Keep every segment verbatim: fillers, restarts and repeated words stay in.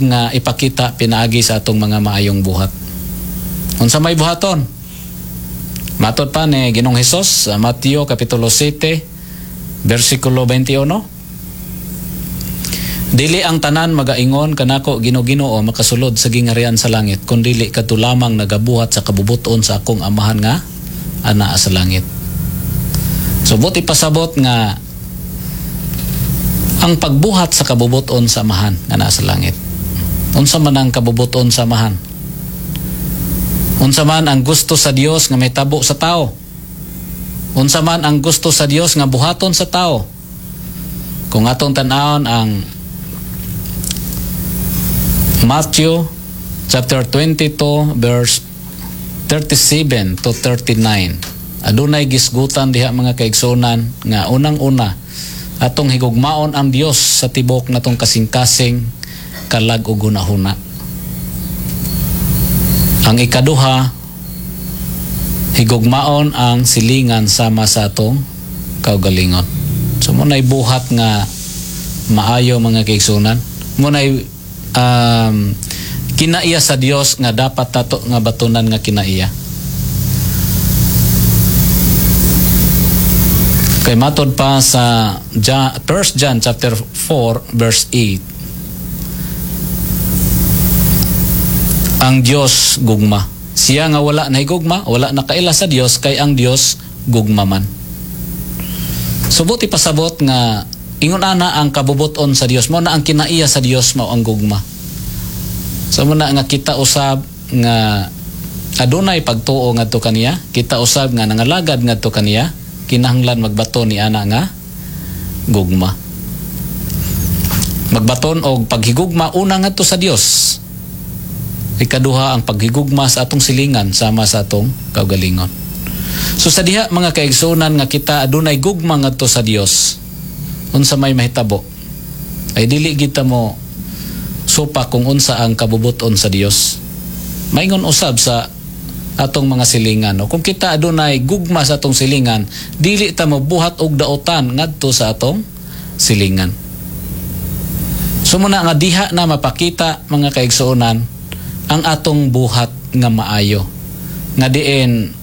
nga ipakita pinaagi sa atong mga maayong buhat. Unsa may buhaton? Matod pa ni Ginoong Hesus sa Mateo kapitulo siyete bersikulo twenty-one. "Dili ang tanan magaingon kanako, 'Ginoo, Ginoo,' makasulod sa gingharian sa langit, kundili kadto lamang nagabuhat sa kabubuton sa akong Amahan nga anaa sa langit." So buot ipasabot nga ang pagbuhat sa kabubuton sa Amahan nga naa sa langit. Unsa man ang kabubuton sa Amahan? Unsa man ang gusto sa Dios nga mahitabo sa tao? Unsa man ang gusto sa Dios nga buhaton sa tao? Kung atong tan-awon ang Matthew chapter twenty-two verse thirty-seven to thirty-nine. Adunay gisgutan diha, mga kaigsunan, nga unang-una atong higugmaon ang Dios sa tibok natong kasing-kasing, kalag ug hunahuna. Ang ikaduha, higugmaon ang silingan sama sa atong kaugalingon. So mao na'y buhat nga maayo, mga kaigsunan. Mao na'y um, kinaiya sa Dios nga dapat tato nga batunan nga kinaiya. Kay matod pa sa First John chapter four verse eight, ang Dios gugma. Siya nga wala na higugma, wala na kaila sa Dios, kay ang Dios gugma man. So buot ipasabot nga ingon ana ang kabubuton sa Dios, mao na ang kinaiya sa Dios, mao ang gugma. So mao na nga kita usab nga adunay pagtuo ngadto kaniya, kita usab nga nangalagad ngadto kaniya, kinahanglan magbato ni ana nga gugma. Magbaton og paghigugma una ngadto sa Dios. Ikaduha, ang paghigugma sa atong silingan sama sa atong kaugalingon. So sa diha, mga kaigsunan, nga kita adunay gugma ngadto sa Dios, unsa may mahitabo? Ay dili kita mo supak kung unsa ang kabubuton sa Dios. Maingon usab sa atong mga silingan. No? Kung kita adunay gugma sa atong silingan, dili ta mobuhat og daotan ngadto sa atong silingan. So muna nga diha na mapakita, mga kaigsuonan, ang atong buhat nga maayo. Nga diin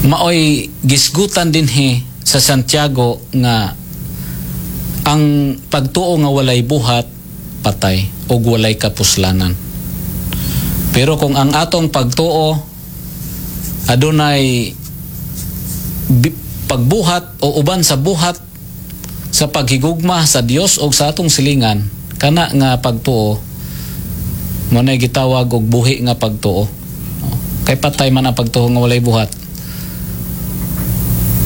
maoy gisgutan dinhi sa Santiago nga ang pagtuo nga walay buhat, patay o walay kapuslanan. Pero kung ang atong pagtuo adunay bi- pagbuhat o uban sa buhat sa paghigugma sa Dios o sa atong silingan, kana nga pagtuo mao nay gitawag og buhi nga pagtuo. Kay patay man ang pagtuo nga walay buhat.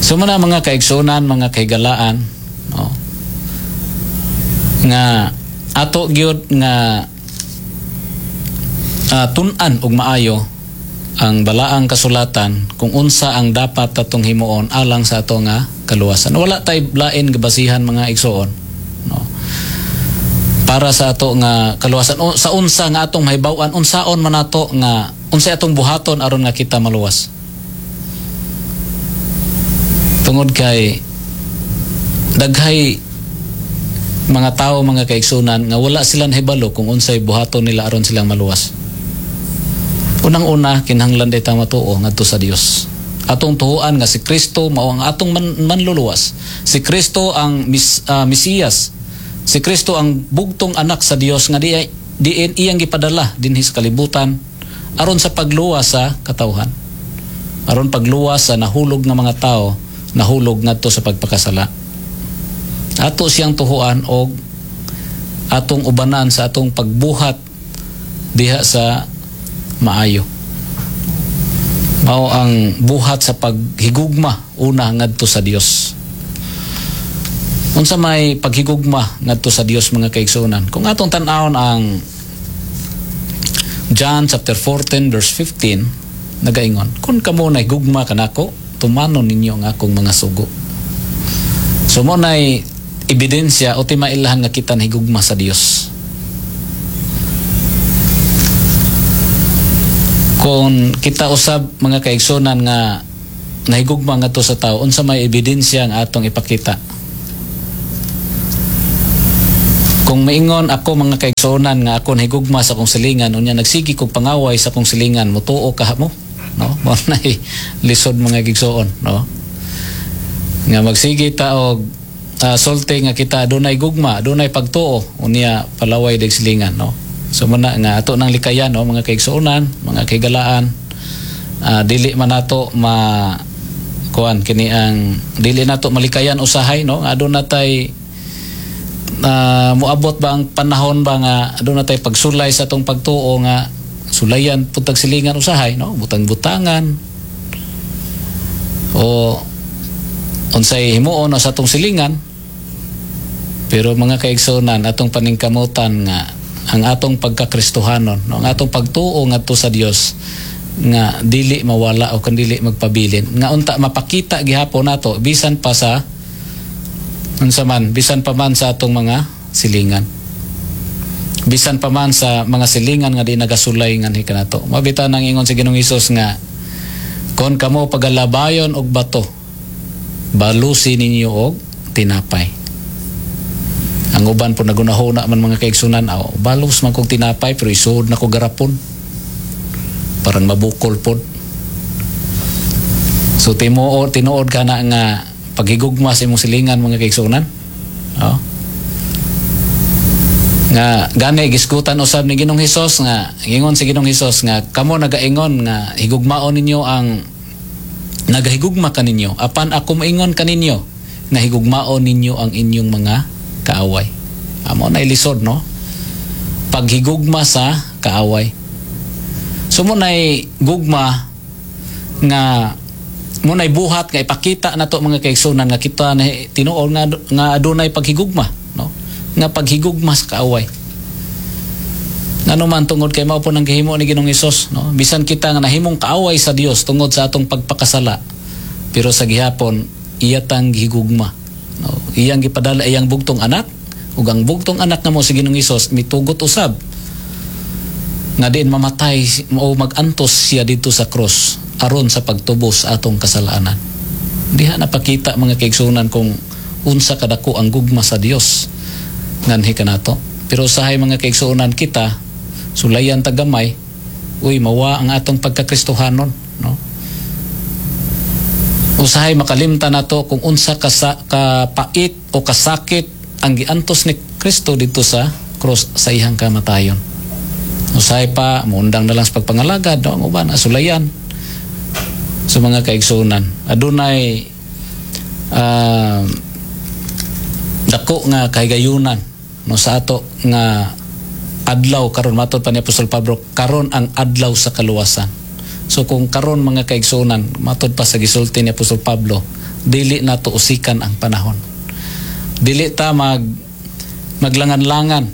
So mao na, mga kaigsunan, mga kahigalaan, no, nga ato gyud nga uh, tun-an og maayo ang balaang kasulatan kung unsa ang dapat atong himuon alang sa ato nga kaluwasan. Wala tay lain gabasihan, mga igsuon, no, para sa ato nga kaluwasan. O, sa unsa nga atong mahibaw-an unsaon man ato nga unsay atong buhaton aron nga kita maluwas. Tungod kay daghay mga tao, mga kaigsunan, nga wala sila nahibalo kung unsay buhaton nila aron silang maluwas. Unang-una, kinahanglan day ta matuo ngadto sa Dios. Atong tuoan nga si Kristo mao ang atong man, manluluwas. Si Kristo ang mis, uh, Mesiyas. Si Kristo ang bugtong anak sa Dios nga di diin iyang gipadala dinhi sa kalibutan aron sa pagluwas sa katawhan. Aron pagluwas sa nahulog nga mga tao, nahulog ngadto sa pagpakasala. Ato siyang tuhuan og atong ubanan sa atong pagbuhat diha sa maayo. Mao ang buhat sa paghigugma una ngadto sa Dios. Unsa may paghigugma ngadto sa Dios, mga kaigsuonan? Kung atong tan-awon ang John chapter fourteen verse fifteen, nagaingon, "Kung kamo nahigugma kanako, tumanon ninyo ang akong mga sugo." So mao nay ebidensya o timailahan nga kita nahigugma sa Dios. Kung kita usab, mga kaigsunan, nga nahigugma ngadto sa tao, unsa may ebidensya ang atong ipakita? Kung maingon ako, mga kaigsuonan, nga ako nahigugma sa akong silingan, unya nagsigi kog pangaway sa akong silingan, mutuo kaha mo, no? Mao na lisod, mga igsoon, no, nga magsige ta og uh, sulti nga kita adunay gugma, adunay pagtuo, unya palaway dag silingan, no? So muna nga ato nang likayan, no, mga kaigsuonan, mga kahigalaan, uh, dili man nato ma kuan kini ang dili nato malikayan usahay, no, nga aduna tay uh, muabot ba ang panahon ba nga aduna tay pagsulay sa atong pagtuo, nga sulayan pud tag silingan usahay, no, butang-butangan o unsay himuon sa atong silingan. Pero mga kaigsuonan, atong paningkamutan nga ang atong pagkakristohanon, no, ang atong pagtuo ngadto sa Dios nga dili mawala o kan dili magpabilin, nga unta mapakita gihapon nato bisan pa sa unsa man, bisan pa man sa atong mga silingan, bisan pa man sa mga silingan nga di nagasulay nganhi kanato. Mao bitaw nang ingon si Ginoong Hesus nga kon kamo pagalabayon og bato, balusi ninyo og tinapay. Ang uban po nagunahuna man, mga kaigsunan, aw, balos man kog tinapay pero isuod na ko garapon, parang mabukol pod. So timuod tinuod ka na nga paghigugma sa imong silingan, mga kaigsunan, oh. Nga gani gisgutan usab ni Ginoong Hesus nga ingon si Ginoong Hesus nga kamo nagaingon nga higugmaon ninyo ang nagahigugma kaninyo, apan ako moingon kaninyo nga higugmaon ninyo ang inyong mga kaaway. Amo na ilisod, no, paghigugma sa kaaway. So mo nay gugma nga mo nay buhat nga ipakita nato, mga kaigsunan, nga kita na tinuod nga nga adunay paghigugma, no, nga paghigugma sa kaaway. Ngano man, tungod kay mao po nang gihimo ni Ginoong Hesus, no? Bisan kita nga nahimong kaaway sa Dios tungod sa atong pagpakasala, pero sa gihapon iya tang gihigugma, no? Iyang gipadala iyang bugtong anak, ug ang bugtong anak nga mo si Ginoong Hesus mitugot usab nga diin mamatay o magantos siya dito sa cross aron sa pagtubos sa atong kasalanan. Diha napakita, mga kaigsunan, kung unsa kadako ang gugma sa Dios nganhi kanato. Pero usahay, mga kaigsuonan, kita sulayan tagamay, uy, mawa ang atong pagkakristohanon, no? Usahay makalimtan nato kung unsa kasa, kapait o kasakit ang giantos ni Kristo dito sa cross sa iyang kamatayon. Usahay pa muundang na lang sa pagpangalagad, no, ang uban asulayan. Sa mga kaigsunan, adunay ah, dako nga kahigayunan, no, sa ato nga adlaw karon. Matod pa ni Apostol Pablo, karon ang adlaw sa kaluwasan. So kung karon, mga kaigsunan, matod pa sa gisulti ni Apostol Pablo, dili nato usikan ang panahon, dili ta mag maglangan-langan,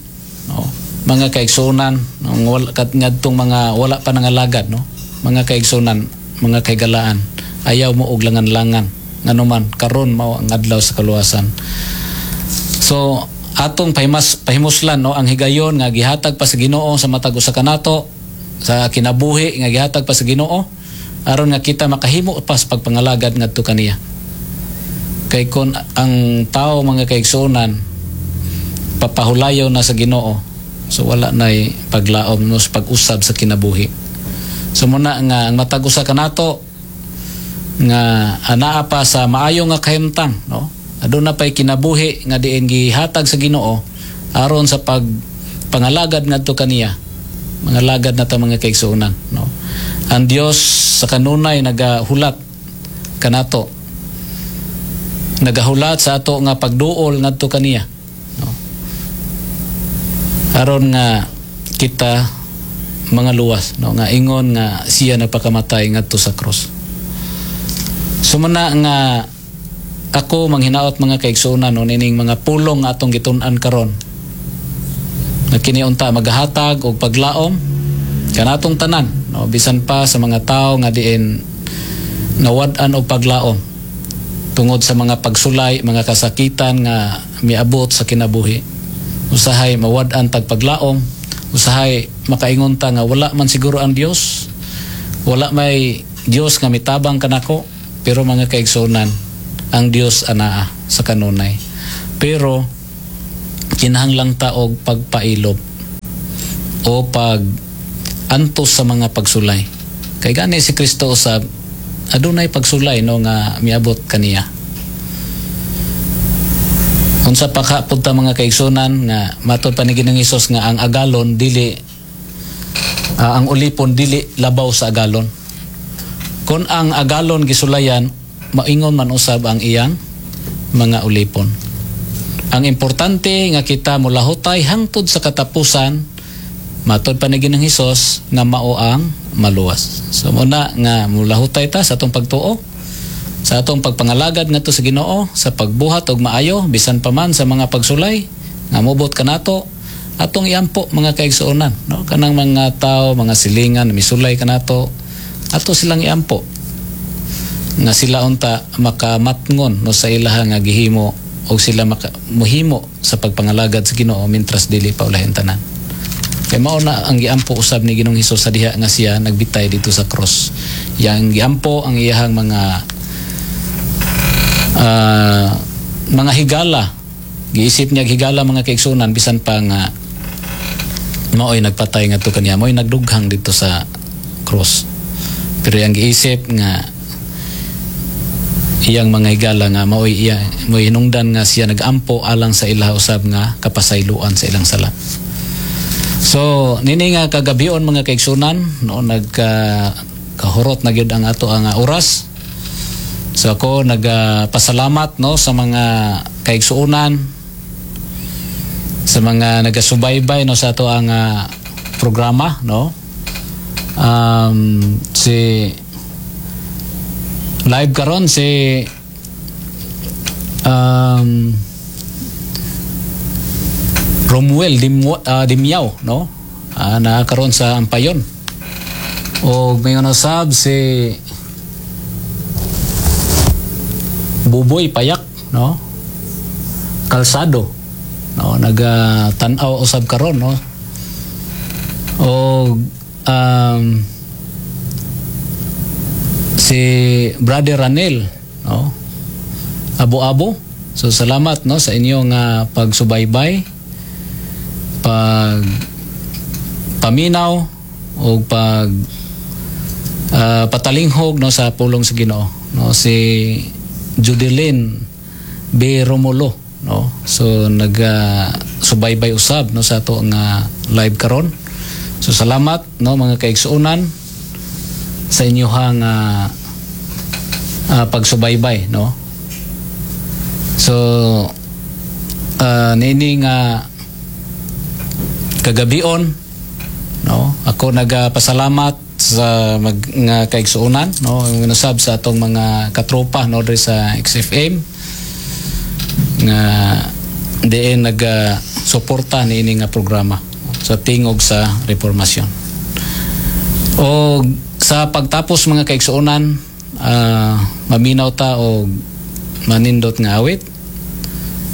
no, mga kaigsunan, no, wala kat ngadtong mga wala pa nangalagad, no. Mga kaigsunan, mga kahigalaan, ayaw mo og langan-langan, nganuman karon mao ang adlaw sa kaluwasan. So atong pahimas pahimuslan, no, ang higayon nga gihatag pa sa Ginoo sa matag usa kanato sa kinabuhi nga gihatag pa sa Ginoo aron nga kita makahimo pa sa pagpangalagad ngadto kaniya. Kay kon ang tao, mga kaigsuonan, papahulayaw na sa Ginoo, so wala nay paglaom, no, sa pag-usab sa kinabuhi. So muna nga ang matag usa kanato nga anaa pa sa maayo nga kahimtang, no, aduna pay kinabuhi nga diin gihatag sa Ginoo aron sa pag pangalagad ngadto kaniya, mga lagad na ta, mga kaigsuonan, no? Ang Dios sa kanunay nagahulat kanato, nagahulat sa ato nga pagduol ngadto kaniya, no, aron nga kita mga luwas, no, nga ingon nga siya nagpakamatay ngadto sa cross. Sumana nga ako manghinaot, mga kaigsuonan, no, nining mga pulong nga atong gitun-an karon nga kini unta magahatag og paglaom kanatong tanan, no, bisan pa sa mga tao nga diin nawad-an og paglaom tungod sa mga pagsulay, mga kasakitan nga miabot sa kinabuhi. Usahay mawad-an tag paglaom, usahay makaingon ta nga wala man siguro ang Dios, wala may Dios nga mitabang kanako. Pero mga kaigsuonan, ang Dios anaa sa kanunay. Pero Kinahanglan ta og pagpailob o pag antos sa mga pagsulay. Kay gani si Kristo usab adunay pagsulay, no, nga miabot kaniya. Unsa pa ka punta, mga kaigsunan, nga matod pa ni Ginoong Hesus nga ang agalon dili ah, ang ulipon dili labaw sa agalon. Kung ang agalon gisulayan, maingon man usab ang iyang mga ulipon. Ang importante nga kita mulahutay hangtod sa katapusan, matod pa ni Ginoong Hesus nga mao ang maluwas. So muna nga mulahutay ta sa atong pagtuo, sa atong pagpangalagad ngadto sa Ginoo, sa pagbuhat og maayo bisan pa man sa mga pagsulay nga mobot kanato, atong iampo, mga kaigsuonan, no, kanang mga tao, mga silingan misulay kanato, ato silang iampo nga sila unta makamatngon, no, sa ilaha nga gihimo o sila maka, muhimo sa pagpangalagad sa Ginoo mintras dili pa ulahin tanan. Kay mao na ang giampo usab ni Ginoong Hesus sa diha nga siya nagbitay dito sa cross. Yang giampo ang iyahang mga ah, mga higala. Giisip niya higala, mga kaigsunan, bisan pa nga mao'y nagpatay ngadto kaniya, mao'y nagdughang dito sa cross. Pero yang giisip nga iyang mga higala nga mao'y iya mao'y hinungdan nga siya nagampo alang sa ilaha usab nga kapasayloan sa ilang sala. So nini nga kagabion, mga kaigsunan, no, nagka kahurot na gyud ang ato ang oras. So ako nagpasalamat, no, sa mga kaigsuonan, sa mga nagasubaybay, no, sa ato ang ah, programa, no. Um, si live karon si um, Romuel Dimwa, ah, Dimyaw, no, uh, naa karon sa Ampayon o may usab si Buboy Payak, no, Kalsado, no, naga tan-aw usab karon, no, o um, si Brother Ranel, no, Abo-abo. So salamat, no, sa inyong uh, pagsubaybay, pag paminaw o pag ah, patalinghog, no, sa pulong sa Ginoo, no. Si Judeline B Romulo, no, so naga subaybay usab, no, sa ato nga live karon. So salamat, no, mga kaigsuonan, sa inyuhang uh, ah, pagsubaybay, no. So uh, niini nga kagabion, no, ako nagapasalamat sa mag nga kaigsuonan, no, usab sa atong mga katropa, no, diri sa X F M nga diin naga suporta niini nga programa sa Tingog sa Reformasyon. O sa pagtapos, mga kaigsuonan, ah, maminaw ta og manindot nga awit.